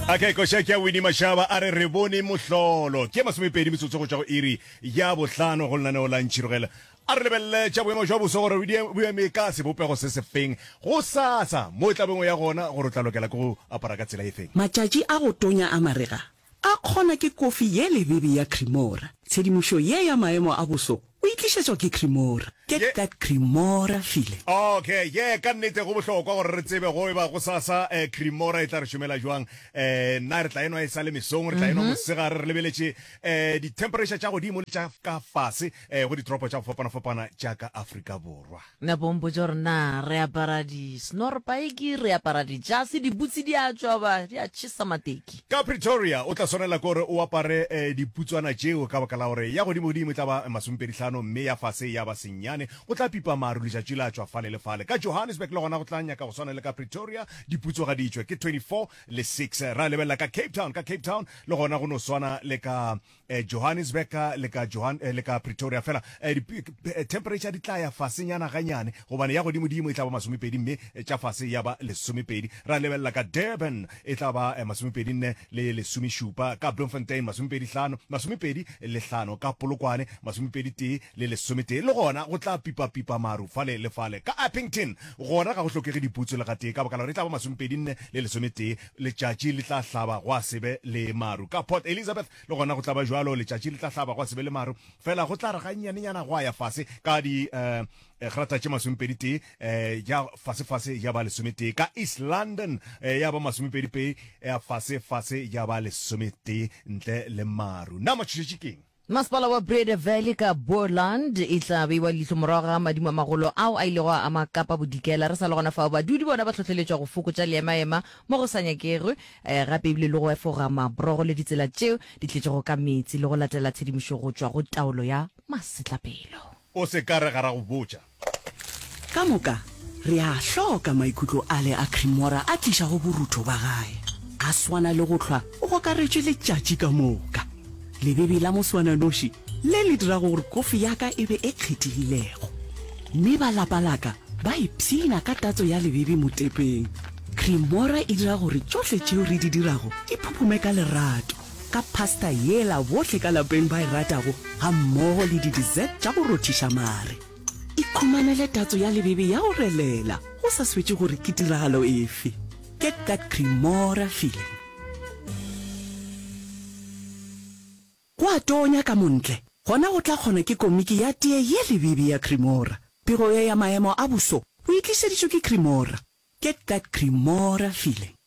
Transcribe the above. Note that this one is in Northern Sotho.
Okay, koša ke ya Winnie Mashaba a re re bone mohlolo. Ke 20 metsotso go tšwa go iri ya bohlano go lenaneo la Ntšhirogela. A re lebelele tša boemo jwa boso gore bo eme ka sebopego se sefeng go sasa mo e tla bengwe ya gona gore o tla lokela ke go apara ka tsela efeng. Matšatši a go tonya a marega a kgona ke kofi ye lebebe ya Cremora. Tshedimošo ye ya maemo a boso o e tlišetšwa ke Cremora. Get that Cremora feeling. Okay, yeah, ka nnete go bohlokwa gore re tsebe go eba gosasa eh, Cremora e tla re šomela jwang. Eh, nna re tla enwa e sa le mesong, re tla enwa mosegare, re lebeletše eh, di-temperature tša godimo le tša ka fase eh, go ditoropo tša go fapana-fapana tša ka Afrika Borwa. Napa o mpotša gore na re apara di-snorpaiki, re apara dijase, dibutse di a tšwa ba di a tšhesa mateki. Ka Pretoria o tla swanela ke gore o apare diputswana tšeo ka baka la gore ya godimo-godimo e tla ba masomepedi-hlano mme ya fase ya ba senyane. Go tla pipa maru letšatši la tšwa fale le fale. Ka Johannesburg le gona go tla nyaka go swana le ka Pretoria, diputso ga di tšwe ke 24 le 6. Ra lebelela ka Cape Town, ka Cape Town le gona go no swana le ka Eh, Johannesburg le ka Johan eh, le ka Pretoria fela eh, di, eh, temperature di tla ya fasenyana ganyane gobane ya godimodimo e tla ba masomepedi mme eh, tša fase ya ba lesomepedi. Ra lebelela ka Durban e tla ba eh, masomepedi nne le lesomešupa, ka Bloemfontein masomepedi hlano, masomepedi le hlano, ka Polokwane masomepedi tee le lesometee. Le gona go tla pipa-pipa maru fale le fale. Ka Upington gona ga go hlokege diputso le gatee ka baka la gore e tla ba masomepedi nne le lesometee, letšatši le tla hlaba gwa se be le maru. Ka Port Elizabeth Le gona go tla ba bjalo, letšatši le tla hlaba gwa se be le maru, fela go tla re gannyanenyana gwa ya fase ka di eh, grata tše masomepedi-tee, eh, ya fase-fase ya ba lesometee. Ka East London eh, ya ba masomepedi-pedi, ya fase-fase ya ba lesometee ntle le maru. Na matšhošetši keng? Masepala wa Breede Valley ka Boerland e tla beiwa leihlo morago ga madimo a magolo ao a ilego a ama Kapa Bodikela. Re sa le gona fao, badudi bona ba hlohleletšwa go fokotša leemaema mo go sa nyakegwe gape ebile le go efoga mabrogo le ditsela tšeo di tletšego ka meetse le go latela tshedimošo go tšwa go taolo ya masetlapelo. O se ka re ga ra go botša. Ka moka re a hloka maikutlo ale a Cremora a tlišago borutho ba gae. A swana le go hlwa o gokaretšwe letšatši ka moka. Lebebe la moswananoši le le dirago gore kofi ya ka e be e kgethegilego. Mme ba lapa la ka ba ipshina ka tatso ya lebebe motepeng. Cremora e dira gore tšohle tšeo re di dirago di phuphume ka lerato, ka pasta yela bohle ka lapeng ba e ratago gammogo le di-dessert tša go rothiša mare. Ikhumanele tatso ya lebebe ya go relela go sa swetše gore ke tiragalo efe. Get that Cremora feeling. Go a tonya ka montle, gona go tla kgona ke komiki ya tee ye lebebe ya Cremora. Pego ye ya maemo a boso o e tlišeditšwe ke Cremora. Get that Cremora feeling.